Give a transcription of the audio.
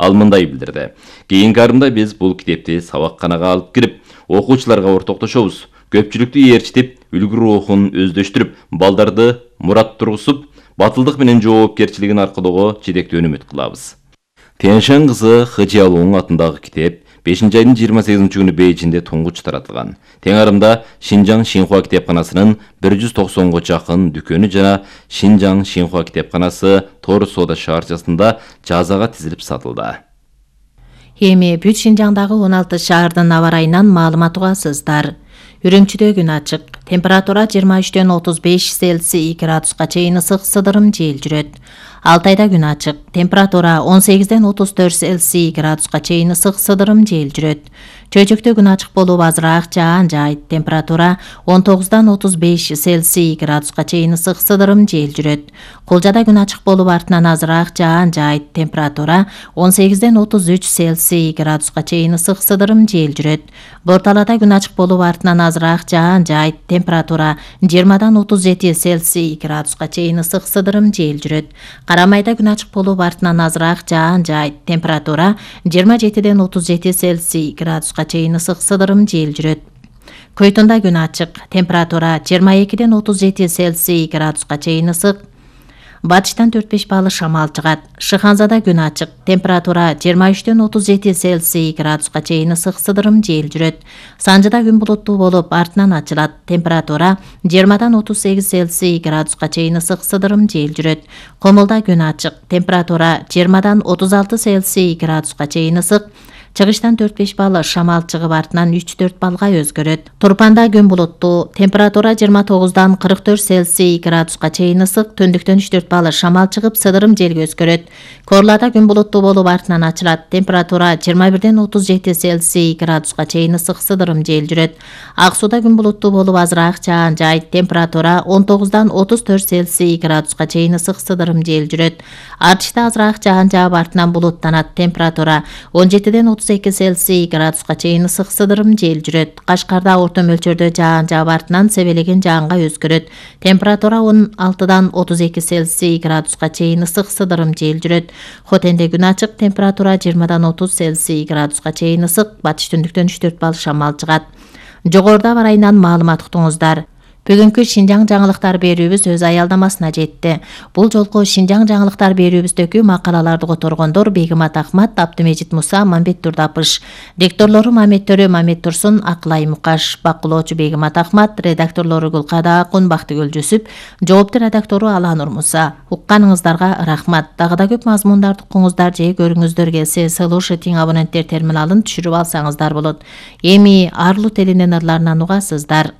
Ал мындай билдирди. Кийинки арымда биз бул китепти сабакканага алып кирип, окуучуларга ортоктошобуз. Көпчүлүктү ээрчитип, үлгү рухун өздөштүрүп, балдарды мурат тургузуп, батылдык менен жоопкерчилигин аркылоого жетектүү үмүт кылабыз. Тяньшань кызы He Jialong атындагы китеп 5-айдын 28 күнү Бейжиңде туңгуч таратылган. Тең арымда Шинжаң Шинхуа китепканасынын 190го жакын дүкөнү жана Шинжаң Шинхуа китепканасы Тор соода шаарчасында жазага тизилип сатылды. Эми бүт Шинжаңдагы 16 шаардын аба ырайынан маалымат угасыздар. Үрүмчүдө күн ачык. Температура 23дөн 35 Цельсий градуска чейин ысык сыдырым жел жүрөт. Алтайда күн ачык. Температура 18ден 34 Цельсий градуска чейин ысык сыдырым жел жүрөт. Чөйчөктө күн ачык болуп азыраак жаан жайт. Температура 19дан 35 Цельсий градуска чейин ысык сыдырым жел жүрөт. Кулжада күн ачык болуп артынан азыраак жаан жайт. Температура 18ден 33 Цельсий градуска чейин ысык сыдырым жел жүрөт. Борталада күн ачык болуп артынан азыраак жаан жайт. Температура 20дан 37 Цельсий градуска чейин ысык сыдырым жел жүрөт. Карамайда күн ачык болуп артынан азыраак жаан жайт. Температура 27ден 37 Цельсий градуска чейин ысык сыдырым жел жүрөт. Көйтүндө күн ачык. Температура 22ден 37 Цельсий градуска чейин ысык. Батыштан 4-5 балл шамал чыгат. Шыханзада күн ачык. Температура 23ден 37 Цельсий градуска чейин ысык сыдырым жел жүрөт. Санжыда күн булуттуу болуп артынан ачылат. Температура 20дан 38 Цельсий градуска чейин ысык сыдырым жел жүрөт. Комулда күн ачык. Температура 20дан 36 Цельсий градуска чейин ысык. Чыгыштан 4-5 балл шамал чыгып артынан 3-4 балга өзгөрөт. Турпанда күн булуттуу. Температура 29дан 44 Цельсий градуска чейин ысык. Түндүктөн 3-4 балл шамал чыгып сыдырым желге өзгөрөт. Корлада күн булуттуу болуп артынан ачылат. Температура 21ден 37 Цельсий градуска чейин ысык сыдырым жел жүрөт. Ак сууда күн булуттуу болуп азыраак жаан жайт. Температура 19дан 34 Цельсий градуска чейин ысык сыдырым жел жүрөт. Артышта азыраак жаан жаап артынан булуттанат. Температура 17ден 32 Цельсий градуска чейин ысык сыдырым жел жүрөт. Кашкарда орто мөлчөрдө жаан жаап артынан себелеген жаанга өзгөрөт. Температура 16дан 32 Цельсий градуска чейин ысык сыдырым жел жүрөт. Хотенде күн ачык. Температура 20дан 30 Цельсий градуска чейин ысык. Батыш түндүктөн 3-4 балл шамал чыгат. Жогоруда аба ырайынан маалымат уктуңуздар. Бүгүнкү Шинжаң жаңылыктар берүүбүз өз аялдамасына жетти. Бул жолку Шинжаң жаңылыктар берүүбүздөгү макалаларды которгондор Бегимат Ахмат, Абдымежит Муса, Мамбет Турдапыш. Дикторлору Мамет Төрө, Мамет Турсун, Акылай Мукаш. Бакылоочу Бегимат Ахмат, редакторлору Гулкада Акун, Бактыгүл Жүсүп, жоопту редактору Аланур Муса. Укканыңыздарга рахмат. Дагы да көп мазмундарды укуңуздар же көрүңүздөр келсе, слушатиң абоненттер терминалын түшүрүп алсаңыздар болот. Эми арлуу телинен ырларынан угасыздар.